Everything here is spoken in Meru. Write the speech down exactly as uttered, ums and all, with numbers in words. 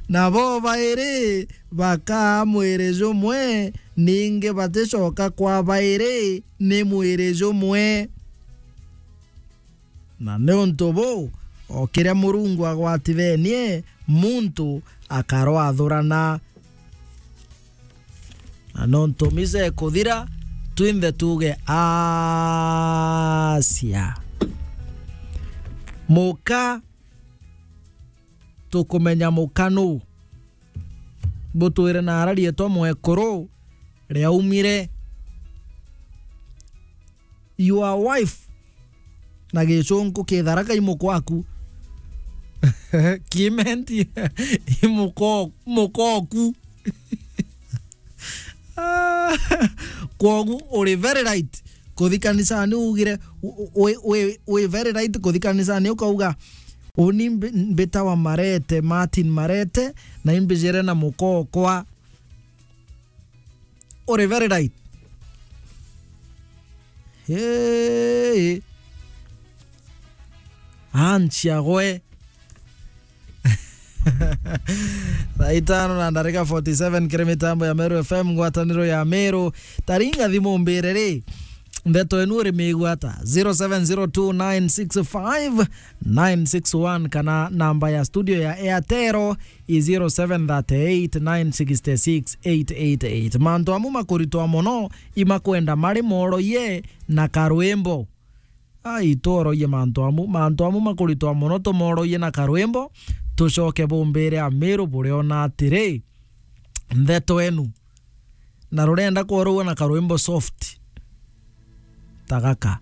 Na bo bairi bakaa mwiri jumwe, ningi baticoka kwa bairi ni mwiri jumwe. Na niuntu buu, o kiria Murungu agwatithenie, muntu akarwathurana. Na nontu misa ikuthira, twinthe tuuge, "Acia." Muka, tukumenya muka nuu? Butwire na ara rietwa mwekuru riaumire. Your wife, na gicunku kithara kai mukwaku. Kimenti, imuko-, mukoku. Kwogu uri very right. Kuthi kanisani ugire, u-, u-, wi, wi, wi very right kuthi kanisani ukauga, "Uni mbi-, mbitawa Marete, Martin Marete, na imbijire na mukokwa." Uri very right. Hey. Anchia gwe. Thaa itano na ndarika forty seven kiri mitambo ya Meru F M, ngwataniro ya Meru. Taringa thimu mbire ri. Ndeto enu uri migwata? Zero seven zero two nine six five nine six one, kana namba ya studio ya Airtel i zero seven thirty eight nine sixty six eight eight eight. Mantu amu makuritwa mono, imakwenda mari moroye na karwimbo. Ai, tworoye mantu amu, mantu amu makuritwa mono, tumoroye na karwimbo, tucoke bumbire Amiru buriona atiri, ndeto enu. Na rurenda kworogwa na karwimbo soft ta gaka.